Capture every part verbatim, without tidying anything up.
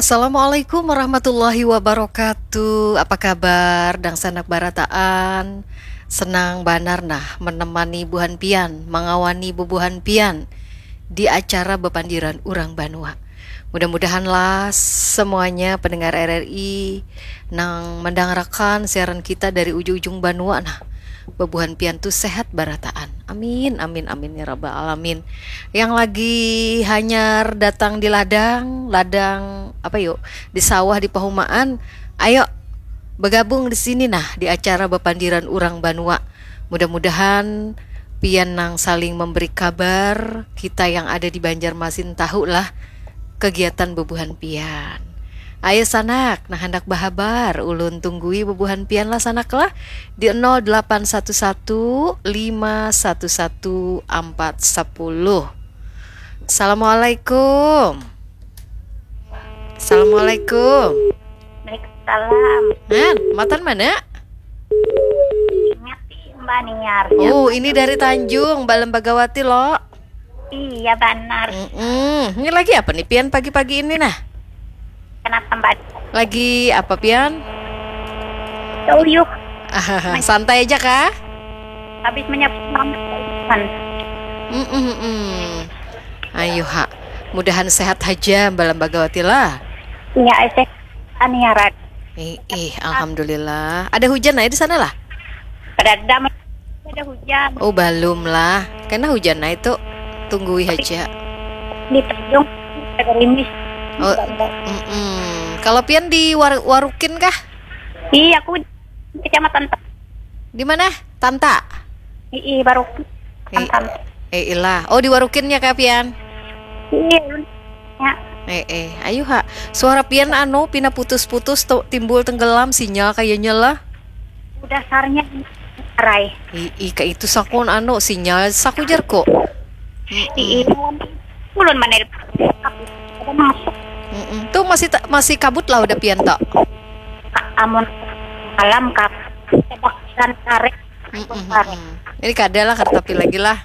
Assalamualaikum warahmatullahi wabarakatuh. Apa kabar, dangsanak barataan? Senang banar nah menemani buhan pian, mangawani bubuhan pian di acara bapandiran urang banua. Mudah-mudahanlah semuanya pendengar R R I nang mendangarakan siaran kita dari ujung-ujung banua nah, bubuhan pian tu sehat barataan. Amin, amin, amin ya rabbal alamin. Yang lagi hanyar datang di ladang, ladang apa yuk, di sawah, di pahumaan, ayo bergabung di sini nah, di acara bapandiran urang banua. Mudah-mudahan pian nang saling memberi kabar, kita yang ada di Banjarmasin tahu lah kegiatan bubuhan pian. Ayo sanak, nah handak bahabar, ulun tunggui bubuhan pian lah sanak lah di nol delapan satu satu lima satu satu empat sepuluh. Assalamualaikum. Assalamualaikum. Waalaikumsalam. Han, matan mana? Ingat sih Mbak Niar. Oh, ini dari Tanjung, Mbak Lembagawati lo. Iya benar. Mm-mm. Ini lagi apa nih pian pagi-pagi ini nah? Kenapa Mbak? Lagi apa pian? Uyuh. Santai aja kah? Habis menyapu mama. Mm-mm-mm. Ayo ha. Mudahan sehat aja Mbak Lembagawati lah. Iya, saya Aniarat. Eh, eh, alhamdulillah. Ada hujan aja di sana lah? Pada ada ada hujan. Oh, belum lah. Karena hujan aja tuh. Tunggui aja. Di Tanjung ada gerimis. Oh, mm-mm. Kalau pian di War- Warukin kah? Iya, aku kecamatan. Di mana? Tanta. Ii, baru Eh, eh ilah. Oh, di Warukinnya kah pian? Iya. Ya. Eh, eh, ayo ha. Suara pian anu pina putus-putus tu timbul tenggelam sinyal kayaknya lah. Dasarnya arai. Ih, ih, kayak itu sakun anu sinyal saku jarku. Ii, ulun mana ada masuk. Mm-mm. Tuh masih ta- masih kabut lah udah pian tak. Amun malam kap kebakaran karet. Mm-mm, mm-mm. Ini kada lah kada tapi lagi lah.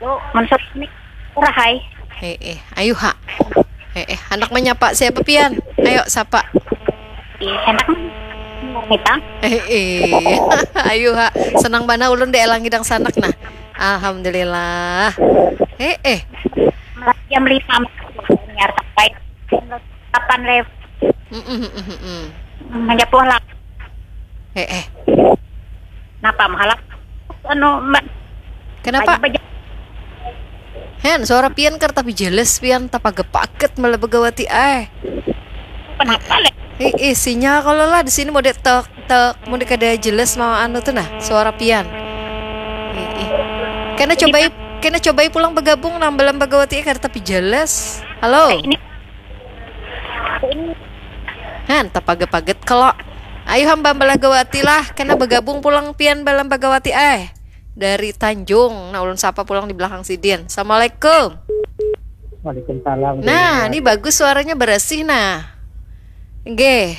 Lu menurut ini murah hai. Eh, eh, ayo ha. Eh, eh, anak menyapa siapa pian? Ayo sapa. Ih, enak nih. Nih, Bang. Eh, eh. Ayo ha. Senang bana ulun deh elangi dang sanak nah. Alhamdulillah. Eh, eh. Jam lima niar sampai jam delapan lewat. Mm-mm, mm-mm, mm-mm. Menyapu lah. Eh, eh. Napa mahalak? Anu, Mbak. Kenapa? Baju-baju. Hen, suara pian kar tapi jelas pian tapaget-paget malah begawati ai. Kenapa leh? Ih, ih, sinyal kalau lah di sini mau tek tek mau kada jelas mau anu tuh nah suara pian. Ih, ih. Kena cobai kena cobai pulang bergabung nang belum begawati kada tapi jelas. Halo. Ini Han, tapaget-paget kalo. Ayo hamba belagawati lah, kena begabung pulang pian belagawati ai. Dari Tanjung, nah ulun sapa pulang di belakang sidin. Assalamualaikum. Waalaikumsalam. Nah, ini bagus suaranya berasih nah. Nggih.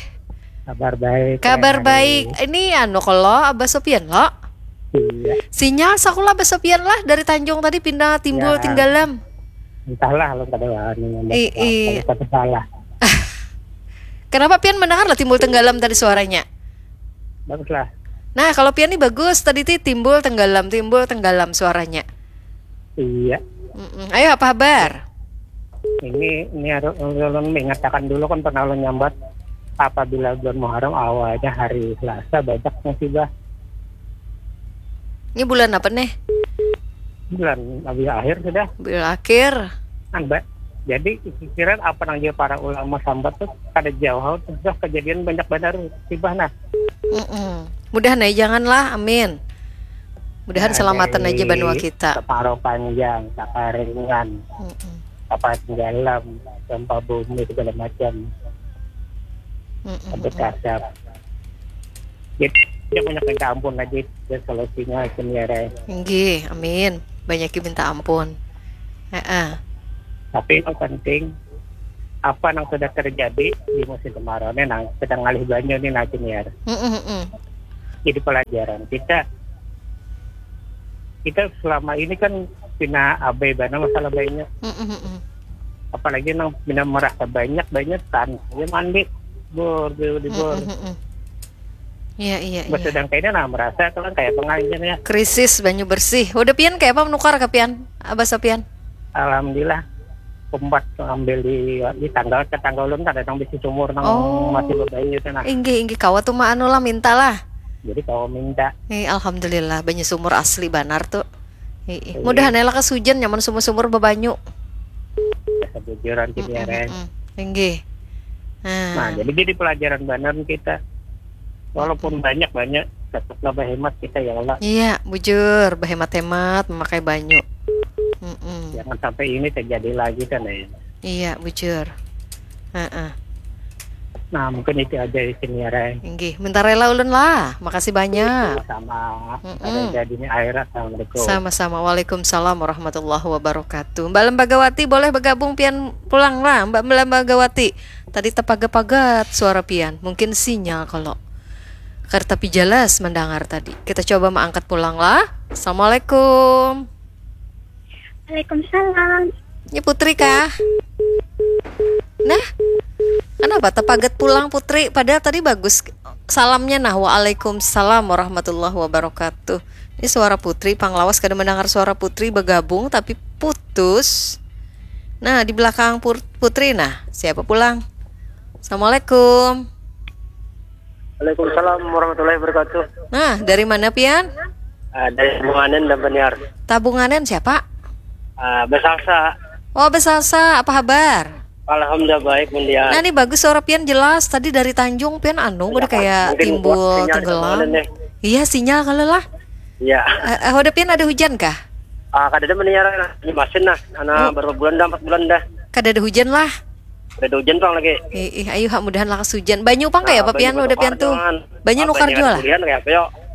Kabar baik. Kabar Teh baik. Ani. Ini anu kalo Abah Sopian lo. Iya. Sinyal sakulah Abah Sopian lah dari Tanjung tadi pindah timbul Ya. tinggalam. Entahlah lo kada wani ngomong I- apa, i- kalau kata salah. Kenapa pian mendengar lah timbul tenggalam tadi suaranya? Baguslah. Nah, kalau pian nih bagus tadi ti timbul tenggalam, timbul tenggalam suaranya. Iya. Mm-mm. Ayo apa kabar? Ini ini harus ulun mengatakan dulu kan pernah ulun nyambat apabila bulan Muharram awalnya hari Selasa banyak musibah. Ini bulan apa nih? Bulan habis akhir sudah. Bulan akhir. Kan, Mbak. Jadi pikiran apa nang jadi para ulama sambat tuh kada jauh tuh sudah kejadian banyak benar musibah nah. Mm-mm. Mudahan aja janganlah, amin. Mudahan Nah, selamatan dari aja banua kita. Kemarau panjang, kekeringan, Mm-mm. apa tenggelam, gempa bumi segala macam. Mm-mm. Sampai kasar. Jadi dia banyak minta ampun aja ya solusinya sendiri. Nggih, amin. Banyak yang minta ampun. Heeh. Tapi yang penting apa yang sudah terjadi di musim kemarau ini nang sedang ngalih banyu nih nah Junior. Mm-mm, mm-mm. Jadi pelajaran kita kita selama ini kan pina abai bana masalah banyu. Mm-mm, mm-mm. Apalagi nang pina merasa banyak, banyak kan. Ya mandi, bor, di, di bor. Mm, mm, mm. Iya, iya, iya. Sedangkan ini nah merasa kalau kayak pengajian ya. Krisis banyu bersih. Udah pian kayak apa menukar ke pian? Abah Sopian? Alhamdulillah. Umpat ambil di, di tanggal ke tanggal ulun kada nang bisi sumur nang Oh. masih bebanyu itu nah. Inggih, inggih. Kawa tuh mah anu lah, minta lah. Jadi kawa minta. Eh, alhamdulillah, banyu sumur asli banar tuh. Ih, ih. Iya. Mudahan ya lakas hujan nyaman sumur-sumur bebanyu. Kebujuran sih, mm, ya, mm, Ren. Mm. Inggih. Nah. Nah, jadi, jadi pelajaran banar kita. Walaupun banyak-banyak, tetaplah berhemat kita, ya Allah. Iya, bujur, berhemat-hemat memakai banyu. Mm-mm. Jangan sampai ini terjadi lagi kan, ya. Iya, bujur. Heeh. Nah, mungkin itu aja di sini ya, Ren. Inggih, minta rela ulun lah. Makasih banyak. Sama-sama. Mm-mm. Ada jadinya air. Assalamualaikum. Sama-sama. Waalaikumsalam warahmatullahi wabarakatuh. Mbak Lembagawati, boleh bergabung pian pulang lah, Mbak Lembagawati. Tadi tepagat-pagat suara pian. Mungkin sinyal kalau. Kar tapi jelas mendengar tadi. Kita coba mengangkat pulang lah. Assalamualaikum. Waalaikumsalam. Ini Putri kah? Nah, kenapa tepagat pulang Putri? Padahal tadi bagus salamnya. Nah, waalaikumsalam warahmatullahi wabarakatuh. Ini suara Putri, pang lawas kada mendengar suara Putri bergabung tapi putus. Nah, di belakang Pur- Putri, nah, siapa pulang? Assalamualaikum. Waalaikumsalam warahmatullahi wabarakatuh. Nah, dari mana pian? Ah, dari Tabunganen dan Baniar. Tabunganen siapa? Ah, Besalsa. Oh, Besalsa, apa kabar? Alhamdulillah baik, Baniar. Nah, ini bagus suara pian jelas. Tadi dari Tanjung pian anu, udah kayak timbul tenggelam. Iya, sinyal kalau lah. Iya. Eh, eh, udah pian ada hujan kah? Ah, kada ada, Baniar, nah. Ini masin nah, anak baru bulan dah, empat bulan dah. Kada ada hujan lah. Kada ada hujan pang lagi. Ih, ih, ayu ha, mudahan lakas hujan. Banyu pang kayak apa pian udah pian tuh? Banyu nukar jua lah.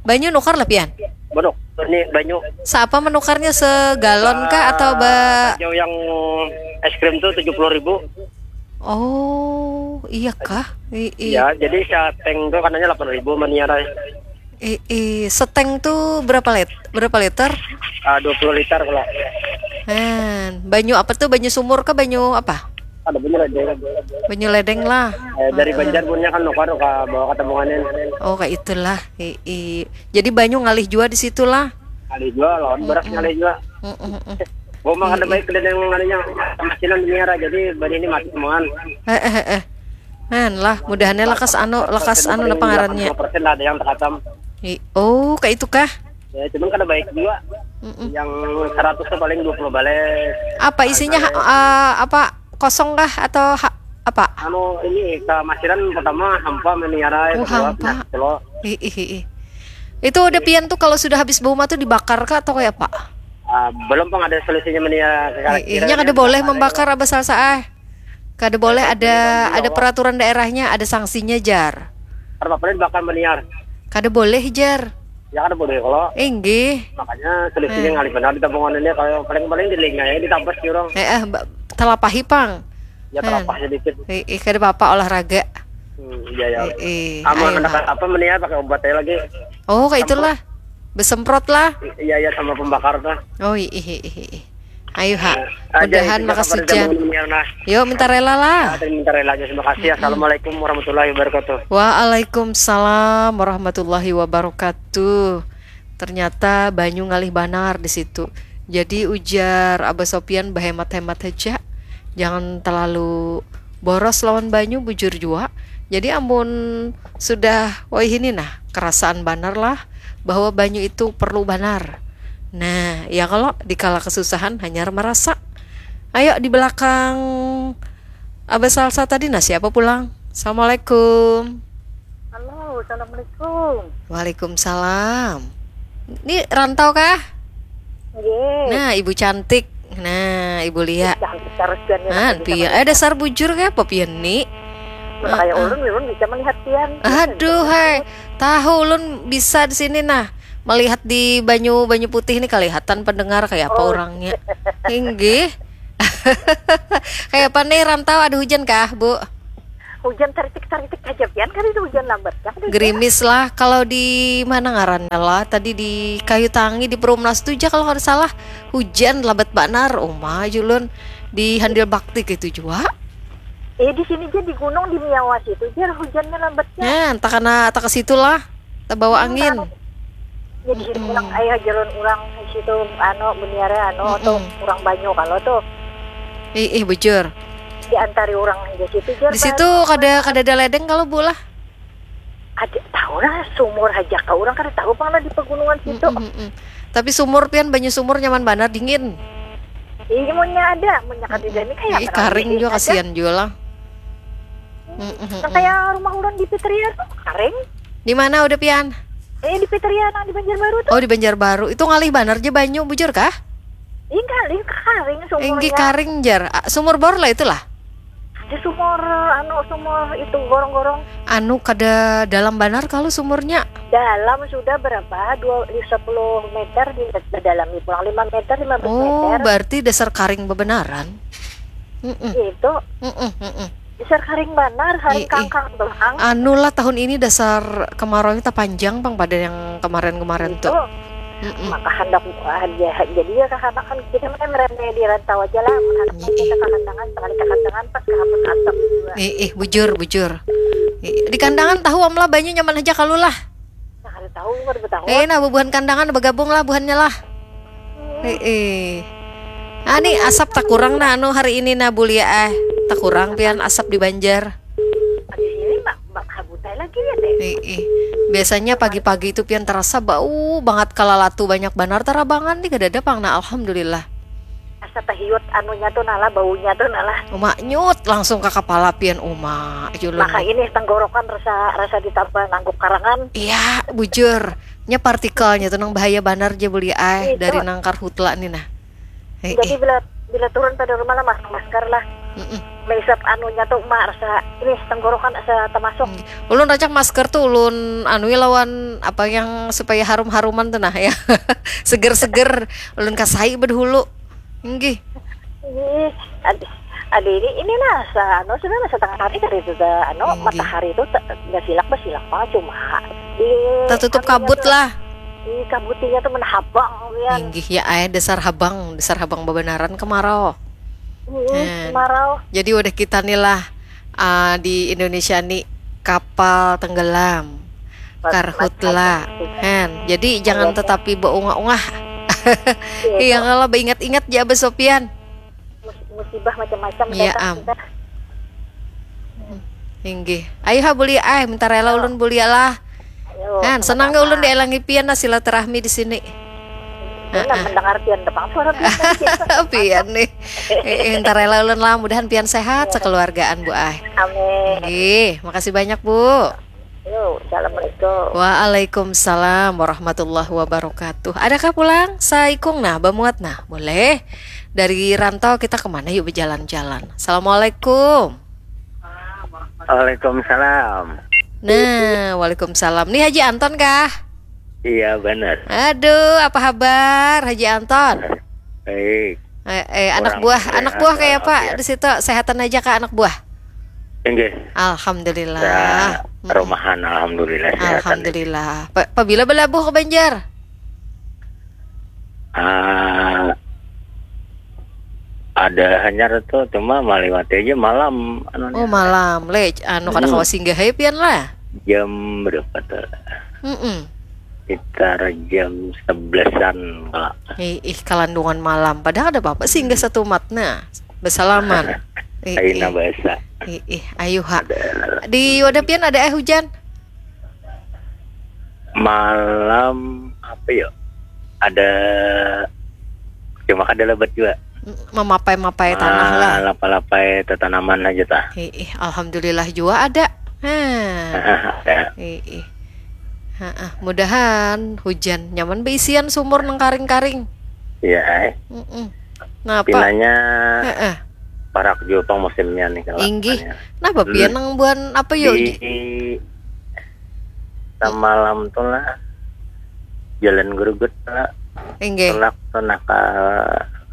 Banyu nukar lah pian. Banyu, ini banyu. Seapa menukarnya, segalon kah atau ba- Jauh yang es krim tuh tujuh puluh ribu. Oh, iya kah? Iya, jadi seteng tuh katanya delapan ribu, Baniar. Eh, eh, seteng tuh berapa lit- berapa liter? Ah, dua puluh liter kalau. Hen, banyu apa tuh? Banyu sumur ke banyu apa? Ada banyu ledeng. Banyu ledeng lah. Eh, dari Banjar punya kan nukar ke bawa ke Tabunganen. Oh, kayak itulah. Eh, eh. Jadi banyu ngalih jua di situ lah. Ngalih jua, lawan beras ngalih jua. Mm, mm, mm. Gomang ada baik dan yang ngalihnya masinan Baniar, jadi bari ini mati semuaan. Eh, eh, eh. Hen lah, mudahannya lekas anu, lekas anu napa ngarannya? Persen lah ada yang terhatam. Oh, kayak itu kah? Ya, cuman kada baik juga. Mm-mm. Yang seratus tuh paling dua puluh balai. Apa isinya, eh, apa kosong kah atau ha- apa? Anu, ini ke masinan pertama hampa, Baniar. Oh, hampa. Ih, ih, ih. Itu udah pian tuh kalau sudah habis bau mah tuh dibakar kah atau kayak apa? Ah, belum pang ada solusinya, Baniar. Ih, ih, nya kada boleh membakar, Abah Salsa, ah. Kada boleh, ada, ada peraturan daerahnya, ada sanksinya, jar. Kada apa-apa dibakar, Baniar. Kada boleh, jar. Ya, kada boleh kalau. Inggih. Makanya solusinya ngalih benar di Tabunganen ini, kalau paling-paling di lingai, ditabas di orang. Eh, eh, ba- telapahi pang. Ya, telapah sedikit. Eh, eh, kada apa-apa, olahraga. Hmm, iya, ya. Eh, eh, aman, ayo, ada apa, Baniar, pakai obat aja lagi. Oh, kayak itulah. Besemprot lah. Iya, iya, sama pembakar tuh. Oh, ih, ih, ih, ih. Ayo, ha. Mudahan lekas hujan. Yo, minta rela lah. Minta rela aja, terima kasih. Assalamualaikum warahmatullahi wabarakatuh. Waalaikumsalam warahmatullahi wabarakatuh. Ternyata banyu ngalih banar di situ. Jadi ujar Abah Sopian, bahemat-hemat haja. Jangan terlalu boros lawan banyu, bujur jua. Jadi amun sudah, woi, ini nah, kerasaan banar lah bahwa banyu itu perlu banar. Nah, ya kalau dikala kesusahan hanyar merasa. Ayo di belakang Abah Salsa tadi, nah, siapa pulang? Assalamualaikum. Halo, assalamualaikum. Waalaikumsalam. Ini rantau kah? Nggih. Nah, ibu cantik. Nah, Ibu Lia. Cantik terus, Jan, ya, nah, tapi pian. Eh, dasar bujur kayak apa pian ni? Nah, kayak ulun, ulun bisa melihat pian. Aduh, hai. Tahu ulun bisa di sini, nah. Melihat di banyu, banyu putih ini kelihatan pendengar kayak apa orangnya. Inggih. Kayak apa nih rantau, ada hujan kah, Bu? Hujan taritik-taritik aja, pian, kali itu hujan lambat. Gerimis lah, kalau di mana ngarannya lah, tadi di Kayu Tangi, di Perumnas tuh aja kalau nggak salah, hujan lambat banar, uma julun. Di Handil Bakti itu jua. Eh, di sini ja di gunung di Miawas itu jar hujannya lambatnya. Nah, tak kena tak ke situ lah. Tabawa angin. Jadi sini orang ayah jalan orang di situ anu buniare anu tuh orang banyu kalau tuh. Ih, ih bujur. Diantari orang aja situ jar. Di situ kada kada ada ledeng kalau bu lah. Ada tahu lah sumur aja kau orang kada tahu pang lah di pegunungan situ. Mm-mm. Tapi sumur pian banyu sumur nyaman banar dingin. Iya, munnya ada, munnya kada ada ni kayak Ih, karing juga kasihan juga lah. Yang kayak rumah ulun di Piteria tuh karing. Di mana udah pian? Eh, di Piteria nang di Banjarbaru tuh. Oh, di Banjarbaru. Itu ngalih banar je banyu, bujur kah? Iya, ngalih karing sumurnya. Inggi karing jar. Ah, sumur bor lah itulah. Di sumur anu sumur itu gorong-gorong. Anu kada dalam banar kalau sumurnya. Dalam sudah berapa? Dua sepuluh meter di dalam pulang lima meter, lima belas meter. Oh, berarti dasar karing bebenaran. Mm-mm. Itu. Mm-mm, mm-mm. Dasar karing banar, karing kangkang doang. Anu lah tahun ini dasar kemarau kita panjang pang pada yang kemarin-kemarin tuh. Mm-mm. Maka hendak ah, ya, jadi ya kakanakan kita mana meremeh di rantau aja lah. Kakanakan kita kakandangan sekali kakandangan pas kahapus asap juga. Eh, eh bujur bujur. Eh, di kandangan tahu amlah banyu nyaman aja kalu lah. Nah, kada tahu kada tahu. Eh, nah bubuhan kandangan bergabung lah buhannya lah. Eh, eh. Ah, ni asap tak kurang nah anu hari ini nah bulia eh. Tak kurang pian asap di Banjar. Habis ini mak mak habutai lagi ya teh. Eh, eh. Biasanya pagi-pagi itu pian terasa bau banget kalalatu banyak banar tarabangan nih kada ada pang nah alhamdulillah. Asa tahiut anunya tuh nalah baunya tuh nalah. Uma nyut langsung ke kepala pian uma. Julun. Maka ini tenggorokan rasa rasa ditambah nangguk karangan. Iya, bujur. Nya partikelnya tuh nang bahaya banar je beli ai dari nang karhutla nih nah. Jadi bila bila turun pada rumah lah masker masker lah. Mm -mm. Meisap anunya tuh emak rasa ini tenggorokan asa termasuk. Mm. Ulun racak masker tuh ulun anui lawan apa yang supaya harum-haruman tuh nah ya. Seger-seger ulun kasai bedahulu. Nggih. Nggih. Ada ini ini nah sa anu sudah lah setengah hari tadi sudah anu Nggih. Matahari itu nggak silak bersilak mah cuma di tertutup kabut tuh, lah. Di kabutinya tuh menhabang ya. Nggih ya ay dasar habang dasar habang bebenaran kemarau. Hmm, kemarau. Jadi udah kita nih lah uh, di Indonesia nih kapal tenggelam. Karhutla. Han, jadi jangan tetapi beungah-ungah. Iya, kalau beingat-ingat ya Abah Sopian. Musibah macam-macam ya am. Inggih. Ayo ha bulia ah, minta rela ulun bulia lah. Han, senang gak ulun dielangi pian lah silaturahmi di sini. Nah, mendengar pian depang suara pian. Pian nih. Eh, entar rela ulun lah, mudahan pian sehat sekeluargaan Bu Ai. Amin. Nggih, makasih banyak Bu. Yo, assalamualaikum. Waalaikumsalam warahmatullahi wabarakatuh. Adakah pulang saikung nah bamuat nah? Boleh. Dari rantau kita kemana yuk berjalan-jalan. Assalamualaikum. Waalaikumsalam. Nah, waalaikumsalam. Nih Haji Anton kah? Iya benar. Aduh, apa habar Haji Anton? Baik. Eh, eh anak buah, sehat, anak buah kayak apa di situ sehatan aja kak anak buah? Enggak. Alhamdulillah. Ya, rumahan alhamdulillah. Sehat. Alhamdulillah. Pa, pabila belabuh ke Banjar? Ah, ada hanyar tuh cuma maliwati aja malam anu oh malam le anu kada hmm. Kawa singgah ya pian lah jam berapa tuh mm -mm. Sekitar jam sebelasan kala ih, ih kalandungan malam padahal ada apa-apa singgah hmm. Satu matna bersalaman ih, Aina ih. Bahasa ih, ih ayo ha di wadah pian ada eh hujan malam apa ya ada cuma kada lebat juga memapai-mapai tanah lah lapalapai tetanaman aja tah ih, ih alhamdulillah juga ada hmm. Ada. Ih, ih. Heeh, mudahan hujan nyaman beisian sumur nang karing-karing iya eh. Mm -mm. Nah, apa? Pinanya Heeh. Parak juga pang musimnya nih kalau Inggih. Nah, bapian nang buan apa yo? Di samalam tuh lah jalan gerugut lah Inggih. Tulak tuh nah ka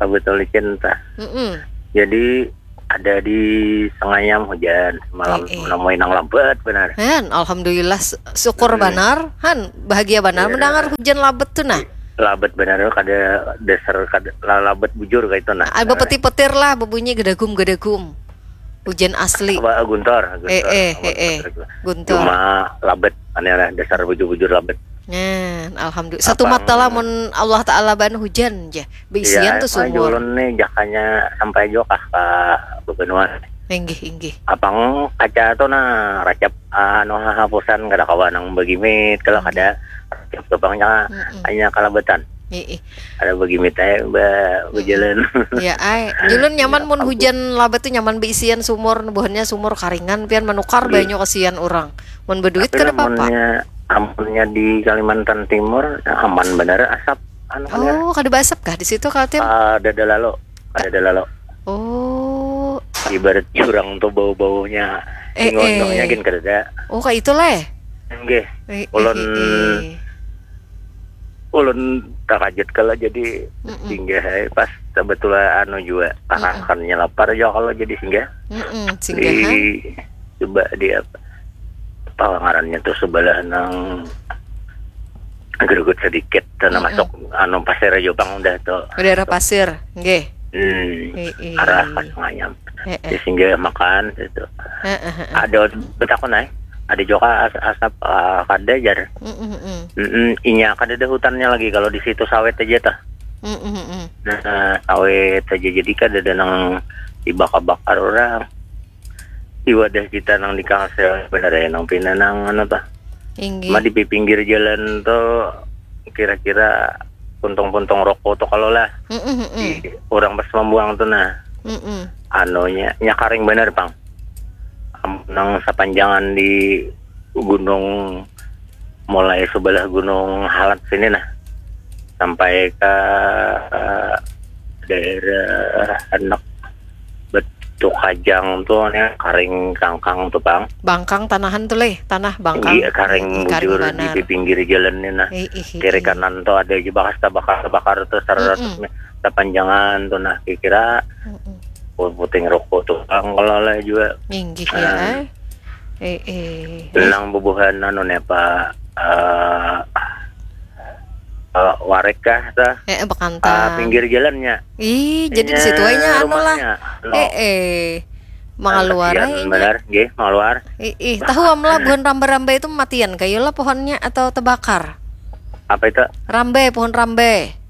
Kabutulicin tah. Mm-mm. Jadi ada di Sengayam hujan semalam eh, eh. Menemui nang lambat benar. Han, alhamdulillah syukur hmm. Banar. Han, bahagia banar yeah. Mendengar hujan labat tuh nah. Labet banar, kada dasar, kada la- labet bujur kaitu nah. Ah, bapetir-petir lah, bebunyi gedagum-gedagum. Hujan asli. Apa, guntur, guntur. Eh, eh, Apa, eh, eh. guntur. Guntur. Cuma labet, aneh lah, dasar bujur-bujur labet. Nah, alhamdulillah. Satu Apang- mata lah mun Allah Taala ban hujan je. Beisian Ya, tu apa, sumur. Ulun nih jakanya sampai jua kah ka bebenuan. Inggih, inggih. Apang kaca tu nah racap, anu, hahapusan, kada kawa nang begimit, kalau kada racap tu pang nya Mm-mm. hanya kalabetan. Ih, ih. Ada begimit aja ba bejalan. Ya, ai. Julun nyaman Ya, mun ampun. Hujan labat tu nyaman beisian sumur, buhannya sumur karingan, pian manukar Nggih. banyu kasihan orang. Mun beduit Tapi kada apa-apa. Lamunnya, amunnya di Kalimantan Timur aman benar asap, anu, kan ya. Oh, kada baasap kah di situ, Kaltim? Ah, ada lalu, ada lalu. Oh, Ibarat jurang tu bau-baunya. Eh, Ingondongnya eh. Gin kada ada. Oh, kayak itulah. Nggih. Eh, eh, Ulun eh, eh. Ulun takajut kalau jadi Mm-mm. singgah ai pas kebetulan anu juga, kanakannya lapar juga kalau jadi singgah. Mm-mm, Di singgahan. Coba di apa, apa ngarannya tuh, sebelah nang gerugut sedikit, tanah Mm-mm. masuk anu pasir aja pang udah tuh. Daerah pasir, nggih. Hmm. Eh, eh. Arah pas nganyam. Eh, eh. Di singgah makan situ. Eh, eh, eh. Ada betakun ai. Ada juga as- asap, ah, kada jar. Mm-mm, mm. Mm-mm, inya kada ada hutannya lagi kalau di situ sawit aja tah. Mm-mm, mm. Nah, sawit aja jadi kada ada nang dibakar-bakar orang. Di wadah kita nang di Kalsel bener ya nang pina nang anu tah. Inggih. Cuma di pinggir jalan tuh kira-kira puntung-puntung rokok tuh kalau lah. Mm-mm, mm. Di orang pas membuang tuh nah. Mm-mm. Anunya nya karing bener pang. Am- nang sepanjangan di gunung, mulai sebelah Gunung Halat sini nah sampai ke, eh, daerah anak Betuk Kajang tuh nih karing kangkang tuh pang. Bangkang tanahan tuh leh, tanah bangkang. Iya, karing Ih, karing bujur di, banar. di pinggir jalan nih nah. Eh, eh, eh, Kiri eh. Kanan tuh ada aja bakas tabakar-tabakar tuh seratus Mm-mm. meter sepanjangan tuh nah kira-kira Mm-mm. puting rokok tuh pang kalau lah juga. Inggih Ah. Ya. Eh, eh. Nang bubuhan anu nih apa, eh, eh, warek kah tah? Eh, eh, Ah, bekantang. Pinggir jalannya. Ih, jadi di situ aja anu lah. Eh, eh. Mangaluar aja. Benar, nggih, mangaluar. Ih, ih, tahu am lah buhan rambai-rambai itu matian kayu lah pohonnya atau terbakar. Apa itu? Rambai, pohon rambai.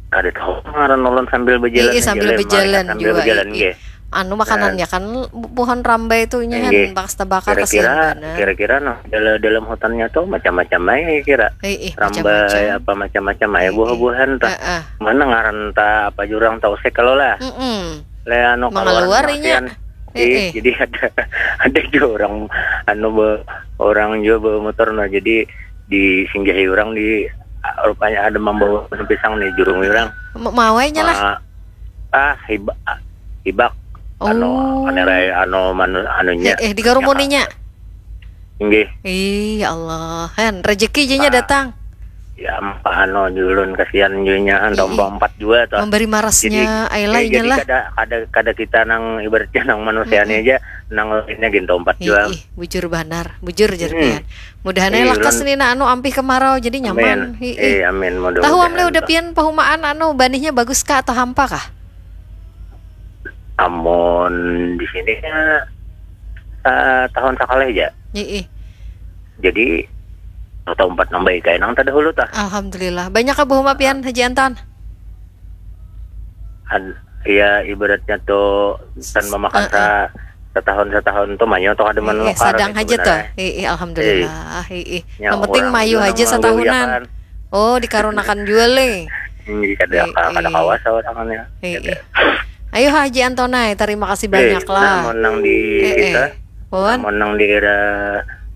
Ada tahu ngaran ulun sambil berjalan. Ih, ih, sambil aja, berjalan sambil juga, berjalan, ih, ih. nggih. Anu makanannya kan bu- pohon rambai itu nya Nggih. Bakas terbakar Kira-kira, kasihan banar. Kira-kira nah, dalam, dalam hutannya tuh macam-macam aja kira. Eh, eh, Rambai macam-macam. Apa macam-macam aja Eh, eh. Buah-buahan tah. Eh, eh. Mana ngaran tah apa jurang tau sih kalau lah. Mm-mm. Leh anu Mangaluar kaluaran inya. matian. Eh, Ih, eh. Jadi ada ada juga orang anu be- orang juga bawa motor nah. Jadi disinggahi orang di rupanya ada membawa pisang nih jurung orang. M- Mawainya lah. Ah, ah, hibak, hibak. Anu, Oh. Anerai, anu, manu, anunya. Eh, eh, dikarumuninya. Inggih. Ih, ya Allah. Han, rezeki jenya Ah. Datang. Ya, apa anu, julun kasihan junya, han, Ih, tombol ih. Empat jua tuh. Memberi marasnya, Jadi, ai lah, ya, inya jadi lah. Kada, kada, kada kita nang ibaratnya nang manusianya Mm-mm. Aja, nang lainnya gin tombol Empat Ih, jua. Ih, bujur banar, bujur jar Hmm. pian. Mudahan Ih, lakas ulun nih nah anu ampih kemarau jadi nyaman. Amin. Ih, Eh, ih. Amin. Tahu am leh udah Tuh. Pian pahumaan anu banihnya bagus kah atau hampa kah? Amun di sini ya, eh, tahun sekali aja. Ih, ih. Jadi tahun empat nambah ikai nang terdahulu tah. Alhamdulillah. Banyak kah bahuma Pian Haji Anton? Ad- ya ibaratnya tuh kan memakan Heeh. sa- setahun setahun tuh manyo tuh ada Eh, eh, menukar sadang sih aja tuh. sebenarnya. Eh, eh, alhamdulillah. Eh, eh. Ya, Yang penting orang mayu juga aja nang setahunan. menggoyahkan. Oh, dikarunakan juga leh. Ini kada Eh, kada eh. Kawasa orangnya. Eh, eh. Ayo Haji Antonai, terima kasih Eh, banyak lah. Namun nang di Eh, kita, eh. Pun? Namun nang di daerah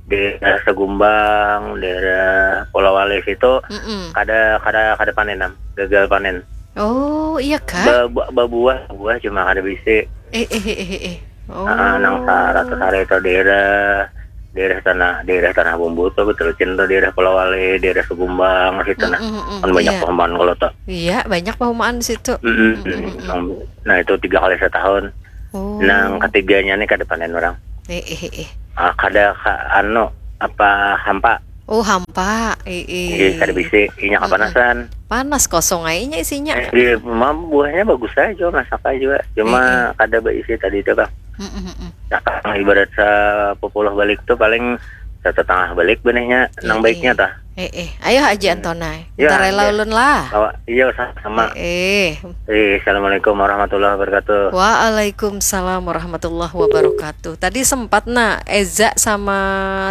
daerah Segumbang, daerah Polawali situ Mm-mm. kada kada kada panen am, gagal panen. Oh, iya kah? Ba- ba- Babuah, buah cuma kada bisi. Eh, eh, eh, eh, eh. Oh. Ah, nang saratus hari itu daerah daerah tanah daerah tanah bumbu tuh betul cinta daerah Polawali, daerah Segumbang situ nah. Mm-mm, mm-mm. Kan banyak Iya. Pahumaan kalau tuh. Iya, banyak pahumaan di situ. Mm-mm. Mm-mm, mm-mm. Nah, nah, itu tiga kali setahun. Oh. Nang ketiganya nih kada panen orang. Eh, eh, eh, eh. Ah, kada ka, anu apa hampa. Oh, hampa. Ii. Nggih, kada bisi. Inya kapanasan. Panas kosong ai inya isinya. Eh, di rumah buahnya bagus aja, masak aja. Cuma kada baisi tadi itu, Kang. Mm-mm-mm. Nah, Kang, ibarat sapupuluh balik tuh paling satatangah balik benihnya, nang baiknya tah. Eh, eh. Ayo Haji Antona. Ya, ntar rela ulun lah. Iya, sama-sama. Eh, eh. Eh, Assalamualaikum warahmatullahi wabarakatuh. Waalaikumsalam warahmatullahi wabarakatuh. Tadi sempat nah Eza sama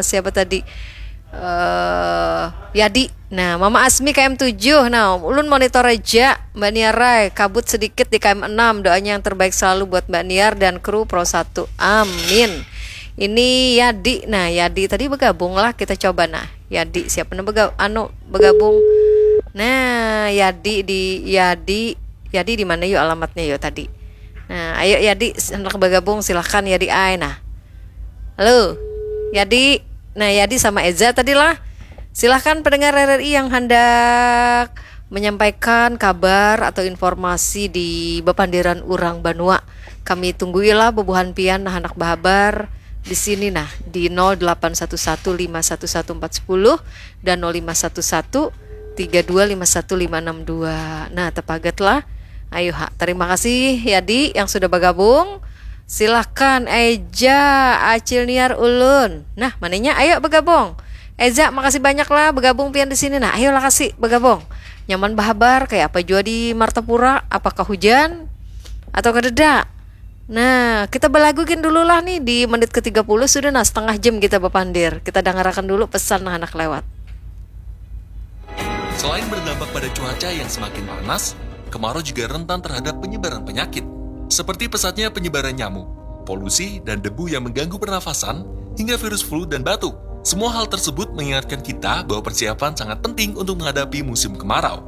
siapa tadi? Eh, Yadi. Nah, Mama Asmi K M tujuh. Nah, ulun monitor aja Mbak Niar ai. Kabut sedikit di K M enam. Doanya yang terbaik selalu buat Mbak Niar dan kru Pro satu. Amin. Ini Yadi. Nah, Yadi tadi bergabung lah, kita coba nah. Yadi siapa nih bega anu bergabung? Nah, Yadi di Yadi Yadi di mana yuk alamatnya yuk tadi? Nah, ayo Yadi hendak bergabung, silahkan Yadi ai nah. Halo, Yadi. Nah, Yadi sama Eza tadi lah. Silahkan pendengar R R I yang hendak menyampaikan kabar atau informasi di bepandiran urang banua. Kami tungguilah bubuhan pian nah handak bahabar di sini nah di nol delapan satu satu lima satu satu empat sepuluh dan nol lima satu satu tiga dua lima satu lima enam dua. Nah, tepagat lah. Ayo ha, terima kasih Yadi yang sudah bergabung. Silahkan Eja Acil Niar ulun. Nah, mananya ayo bergabung. Eza, makasih banyak lah bergabung pian di sini. Nah, ayolah kasih bergabung. Nyaman bahabar kayak apa jua di Martapura? Apakah hujan atau kadeda? Nah, kita belagu gin dulu lah nih di menit ke tiga puluh sudah nah setengah jam kita berpandir. Kita dengarkan dulu pesan nah anak lewat. Selain berdampak pada cuaca yang semakin panas, kemarau juga rentan terhadap penyebaran penyakit, seperti pesatnya penyebaran nyamuk, polusi, dan debu yang mengganggu pernafasan, hingga virus flu dan batuk. Semua hal tersebut mengingatkan kita bahwa persiapan sangat penting untuk menghadapi musim kemarau.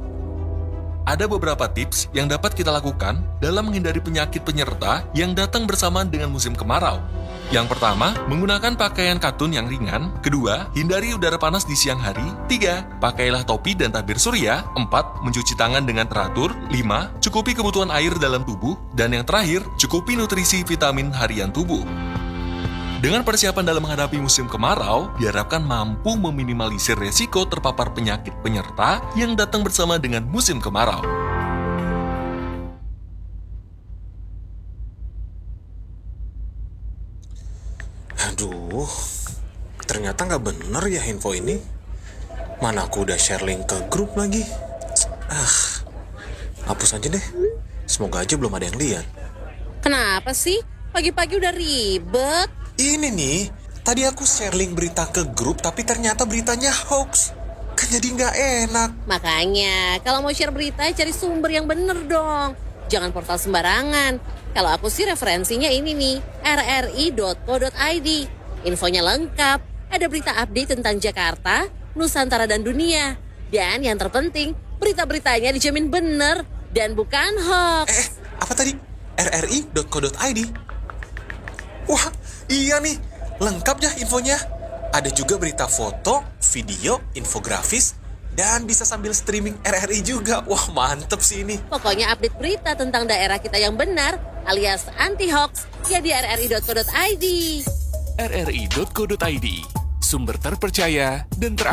Ada beberapa tips yang dapat kita lakukan dalam menghindari penyakit penyerta yang datang bersamaan dengan musim kemarau. Yang pertama, menggunakan pakaian katun yang ringan. Kedua, hindari udara panas di siang hari. Tiga, pakailah topi dan tabir surya. Empat, mencuci tangan dengan teratur. Lima, cukupi kebutuhan air dalam tubuh. Dan yang terakhir, cukupi nutrisi vitamin harian tubuh. Dengan persiapan dalam menghadapi musim kemarau, diharapkan mampu meminimalisir resiko terpapar penyakit penyerta yang datang bersama dengan musim kemarau. Aduh, ternyata nggak bener ya info ini. Mana aku udah share link ke grup lagi. Ah, hapus aja deh. Semoga aja belum ada yang lihat. Kenapa sih? Pagi-pagi udah ribet. Ini nih, tadi aku share link berita ke grup tapi ternyata beritanya hoax. Kan jadi nggak enak. Makanya, kalau mau share berita, cari sumber yang bener dong. Jangan portal sembarangan. Kalau aku sih referensinya ini nih, rri.co.id. Infonya lengkap, ada berita update tentang Jakarta, Nusantara dan dunia. Dan yang terpenting, berita-beritanya dijamin bener dan bukan hoax. Eh, apa tadi? rri.co.id. Wah, iya nih, lengkap ya infonya. Ada juga berita foto, video, infografis, dan bisa sambil streaming R R I juga. Wah, mantep sih ini. Pokoknya update berita tentang daerah kita yang benar alias anti hoax ya di rri.co.id. rri.co.id, sumber terpercaya dan teraku.